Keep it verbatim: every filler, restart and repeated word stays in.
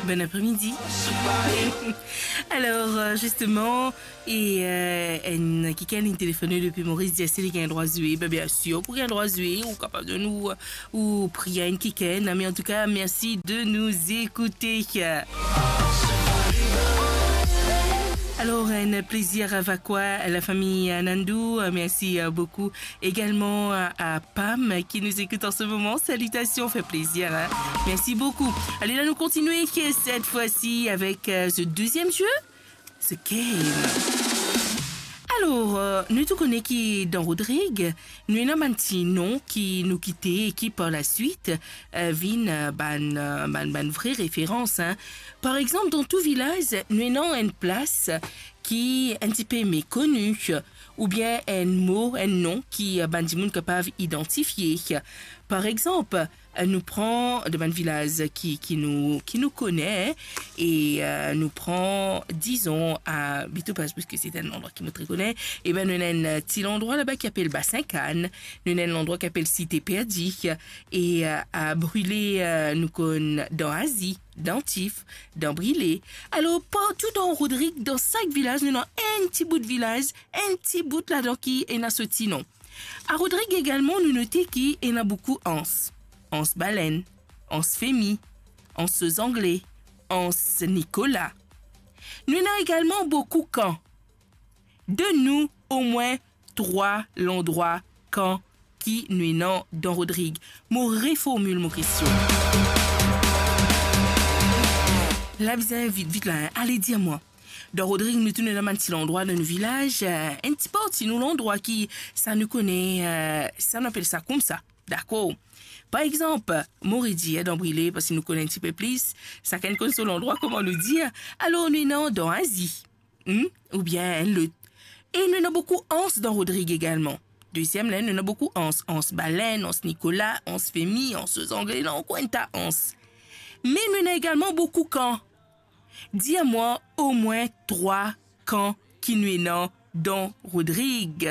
Bon après-midi. Alors, euh, justement, e, euh, enn kikenn inn telefone depi Moris, dir si li gagn drwa zwe. Ben, bien sûr, pou gagn drwa zwe, ou kapav donn ou, ou pri a enn kikenn, hein, mais en tout cas, merci de nous écouter. Alors, un plaisir avec quoi, la famille Nandou, euh, merci, euh, beaucoup également à, à Pam qui nous écoute en ce moment. Salutations, fait plaisir, hein. Merci beaucoup. Allez, là, nous continuons cette fois-ci avec, euh, ce deuxième jeu, ce game. Alors, euh, nou tou kone ki dan Rodrig, nou ena bann ti non ki nou kite e ki par la suite, euh, vinn, euh, bann, euh, bann, bann vre referans, hein. Par exemple, dan tou vilaz, nou ena enn plas ki enn tipe mekoni, oubien enn mo, enn non ki, euh, bann dimoun kapav idantifie. Par exemple, euh, nou pran de bann vilaz ki, ki nou, ki nou kone, e, euh, nou pran, dizon, a Bito Pas, parski se enn landrwa ki mo tre kone, e ben, nou ena enn ti landrwa laba ki apel Basin Kann, nou ena enn landrwa ki apel Site Perdi, e, euh, a Brile, euh, nou konn dan Azi, dan Tif, dan Brile. Alor, partou dan Rodrig, dan sak vilaz, nou ena enn ti bout vilaz, enn ti bout ladan ki ena so ti non. A Rodrig egalman, nou note ki ena boukou Ans. Ans Balenn, Ans Femi, Ans so Zangle, Ans Nikola. Nou ena egalman boukou kan. Donn nou omwin trwa landrwa kan ki nou ena dan Rodrig. Mo reformil mo kestion. La bizin vit, vit la, hein. Ale, dir mwa. Dan Rodrig, nou tou nou ena bann ti landrwa dan nou vilaz, euh, enn ti parti nou landrwa ki sa nou kone, euh, sa nou apel sa koumsa. Dakor? Par exanp, mo redir dan Brile, parski nou kone enn tipe plis, sakenn konn so landrwa, kouma nou dir. Alor, nou ena dan Azi, hmm, oubien enn lot. E nou ena boukou Ans dan Rodrig egalman. Deziem la, nou ena boukou Ans. Ans Balenn, Ans Nikola, Ans Femi, Ans so Zangle, ena ankor enn ta Ans. Me nou ena egalman boukou kan. Dir mwa omwin trwa kan ki nou ena dan Rodrig.